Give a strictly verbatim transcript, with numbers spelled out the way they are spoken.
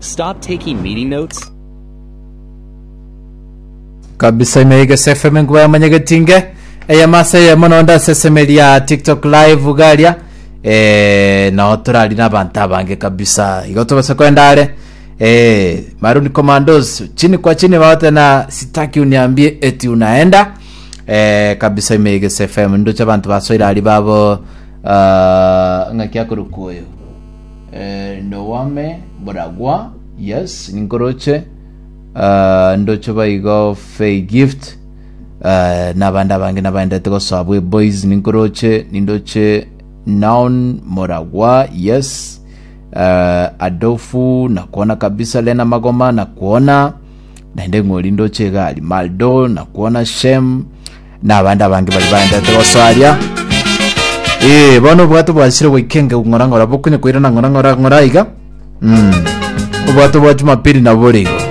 Stop taking meeting notes. Kabisa, ime Egesa F M, enkuba yamanyegetinge eyemo ase eyemo, nonde ase esemeria TikTok Live garia, eh, nao torari na abanto abange kabisa. Igo tobase kwenda are, eh, Maroon Commandos chini kwa chini bagotena "Sitaki uniambie eti unaenda", eh, kabisa. Ime Egesa F M ndoche abanto basoire ari babo, uh, ng'aki akorokwa oyo, eh, Nowame Boragwa, yes, ninkoroche, uh, ndoche baigo Fay Gift, uh, n'abandi abange nabaendete gosoa bwe boys, ninkoroche, nindoche Noun Moragwa, yes, uh, Adofu nakuona kabisa, Lena Magoma nakuona, naende ng'ori ndoche egari Maldo nakuona, Shem n'abandi abange bari baendete gosoa aria. Eh, bono obwato bwasire goikenge ng'ora ng'ora, bokonye koirana ng'ora ng'ora ng'ora iga. Mm. Obwato bwa Jumapili nabo bore igo.